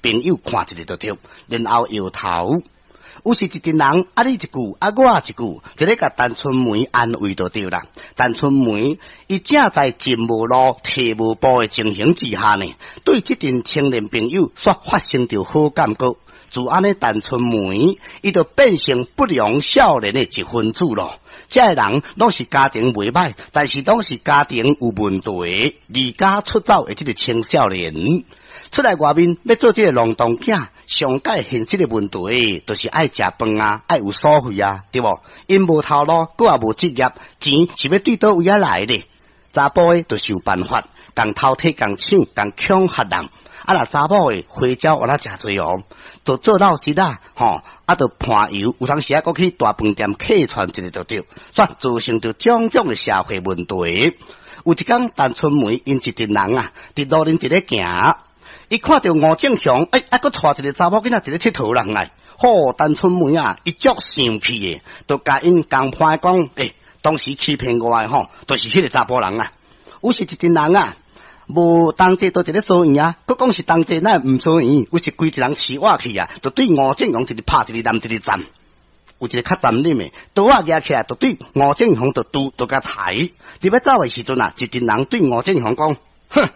朋友看一下就對，然後搖頭。有時一陣人啊，你一句啊，我一句，就咧共陳春梅安慰就對啦。陳春梅伊正在進無路、退無步的情形之下呢，對這陣青年朋友煞發生著好感覺。自按呢，陳春梅伊就變成不良少年的一分子咯。這个人攏是家庭袂歹，但是攏是家庭有問題，離家出走的這个青少年，出來外面欲做這个浪蕩囝，上蓋現實的問題，就是愛食飯啊，愛有所費啊，對無？𪜶無頭路，閣也無職業，錢是欲對佗位仔來的？查埔的就想辦法，共偷提、共搶、共恐嚇人。啊，若查某的花招有哪誠濟哦，就做老實啊，吼，啊，就伴遊，有當時啊，閣去大飯店客串一下就對，煞造成著種種的社會問題。有一工，陳春梅𪜶一陣人啊，佇路頂佇咧行。伊看著吳正雄，欸，啊，閣帶一个查某囡仔佇咧𨑨迌人來，吼，陳春梅啊，伊足生氣的，就共𪜶共判講，欸，當時欺騙我的吼，就是彼个查埔人啊。有時一陣人啊，無同齊都佇咧疏院啊，閣講是同齊，哪會毋疏院？有時規個人飼活去啊，就對吳正雄一直拍，一直淋，一直站。有一个較殘忍的，刀仔舉起來，就對吳正雄就拄，就共刣。佇欲走的時陣啊，一陣人對吳正雄講，哼！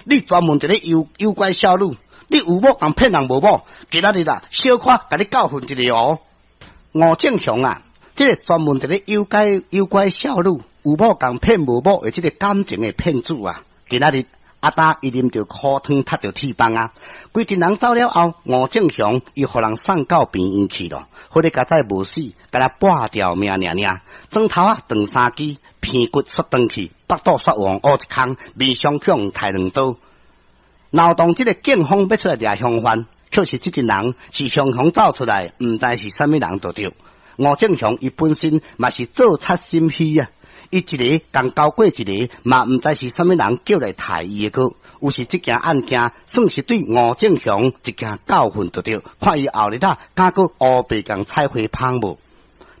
你專門佇咧誘誘拐少女，你有某共騙人無某？今仔日啊，小可共你教訓一下哦。吳正雄啊，這个專門佇咧誘拐誘拐少女，有某共騙無某的這个感情的騙子啊，今仔日阿達伊啉著苦湯，踢著鐵棒啊！規陣人走了後，吳正雄伊予人送到病院去咯。好咧，佳哉無死，敢若半條命爾爾，指頭仔斷三支，鼻骨煞斷去，腹肚煞往烏一空，面傷口開兩刀。鬧動這个警方欲出來掠凶犯，卻是這陣人是雄雄走出來，毋知是啥物人就對。吳正雄伊本身嘛是做賊心虛啊，伊一个共交過一个，嘛毋知是啥物人叫來刣伊的閣。有時這件案件算是對吳正雄一件教訓就對，看伊後日啊，敢閣烏白共採花蜂無？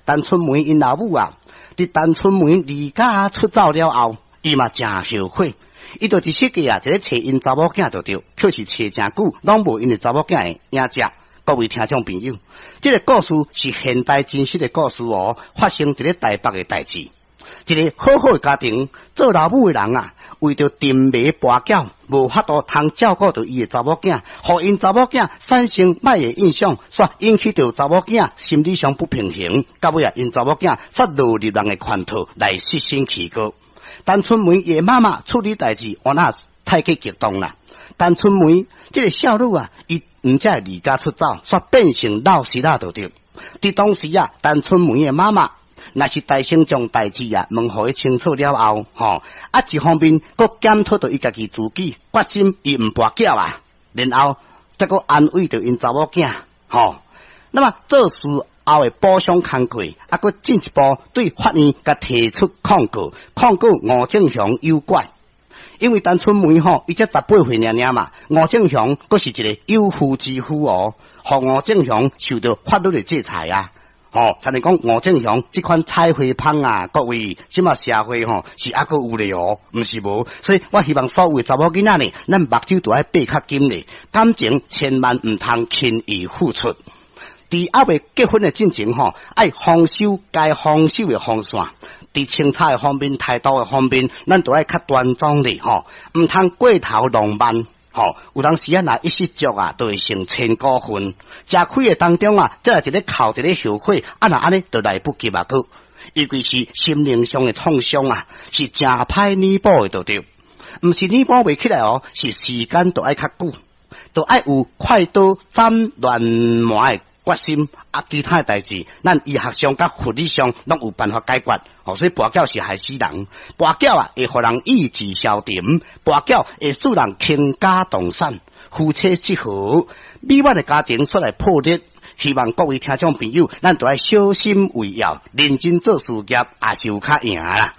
陳春梅𪜶老母啊，佇陳春梅離家出走了後，伊嘛誠後悔，伊就一世界啊，佇咧揣𪜶查某囝就對，卻是揣誠久，攏無𪜶的查某囝的影跡。各位聽眾朋友，這个故事是現代真實的故事哦，發生佇咧台北的代誌。一个好好的家庭，做老母的人啊，為著沉迷跋筊，無法度通照顧著伊的查某囝，予𪜶查某囝產生歹的印象，煞引起著查某囝心理上不平衡，到尾啊，𪜶查某囝煞落入人的圈套來失身棄過。陳春梅伊的媽媽處理代誌，原來太過激動啦。陳春梅這个少女啊，伊毋才會離家出走，煞變成老實仔就對。佇當時啊，陳春梅的媽媽若是大聲將代誌啊問予伊清楚了後，吼啊一方面閣檢討著伊家己自己，決心伊毋跋筊啊，然後再閣安慰著𪜶查某囝，吼。那麼做事後的補償工課，啊，閣進一步對法院共提出控告，控告吳正雄誘拐。因為陳春梅吼，伊才18歲爾爾嘛，吳正雄閣是一个有婦之夫哦，予吳正雄受著法律的制裁啊。吼，親像講吳正雄這款採花蜂啊，各位，這馬社會吼是猶閣有咧哦，毋是無。所以我希望所有的查某囡仔呢，咱目睭都愛閉較緊咧，感情千萬毋通輕易付出。佇猶未結婚的進前吼，愛防守該防守的防線。佇清查的方面、態度的方面，咱都愛較端莊咧吼，毋通過頭浪漫。吼，有當時啊，若一失足啊，就會成千古恨。食虧的當中啊，才來佇咧哭，佇咧後悔，啊若按呢，就來不及啊！閣，尤其是心靈上的創傷啊，是誠歹彌補的，就對。毋是彌補袂起來哦，是時間都愛較久，都愛有快刀斬亂麻的決心。啊，其他的代誌，咱醫學上佮物理上攏有辦法解決。哦，所以跋筊是害死人，跋筊啊會予人意志消沉，跋筊會使人傾家蕩產，夫妻失和，美滿的家庭煞來破裂。希望各位聽眾朋友，咱都愛小心為要，認真做事業，也是有較贏啦。